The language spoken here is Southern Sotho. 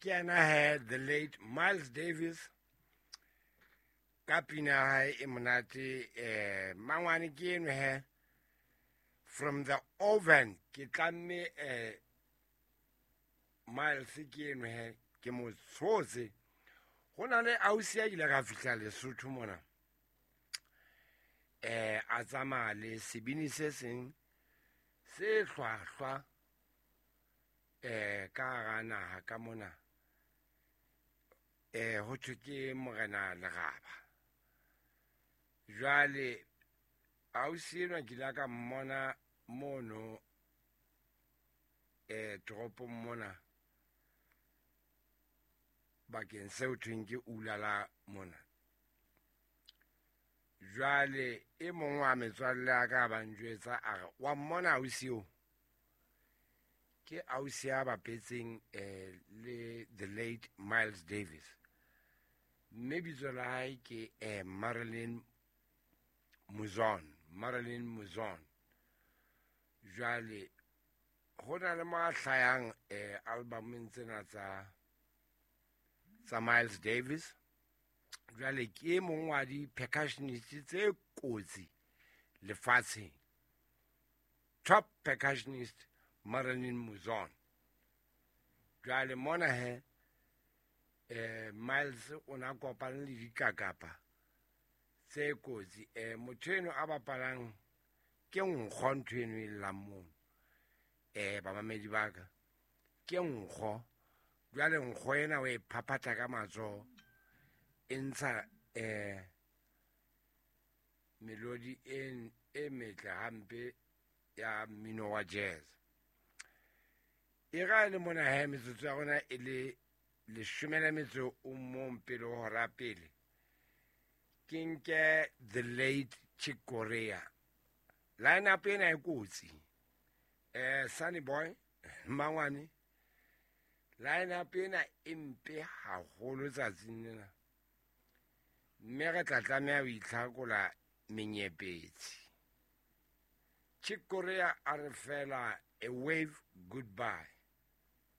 Ke yena he, the late Miles Davis ka pina ya hae e monate. Mangwane ke eno he, "From the Oven". Ke tlamme Miles ke eno he, ke mo tshotse. Go na le ausi a ile ka fihla Lesotho mona, a tsamaya le sebini se seng se hlwahlwa ka hara naha ka mona, ho thwe ke Morena Leraba. Jwale ausi enwa ke ile ka mmona mono toropong mona, bakeng seo thweng ke Ulala mona. Jwale e mong wa metswalle ya ka ba njwetsa, a re wa mmona ausi eo, ke ausi ya bapetseng le the late Miles Davis, mme bitso la hae ke Marilyn Muzon, Marilyn Muzon. Jwale ho na le mo a hlayang albumeng tsena tsa Miles Davis. Jwale ke e mong wa di-percussionist tse kotsi lefatsheng, top percussionist, Marilyn Muzon. Jwale mona he, Miles o na kopane le dikakapa tse kotsi. Motho eno a bapalang ke nkgo, ntho eno e llang mono, bamamedi ba ka, ke nkgo. Jwale nkgo ena o e phaphatha ka matsoho, e ntsha melodi e metle hampe ya mmino wa jazz. E ra le mona he, metsotso ya rona e le 11 pele ho hora pele, ke nke the late Chick Corea. Line up ena e kotsi, Sunny Boy. Mangwane, line up ena e mpe haholo tsatsing lena, mme re tla tlameha ho itlhakola menyepetsi. Chick Corea a re fela a wave goodbye.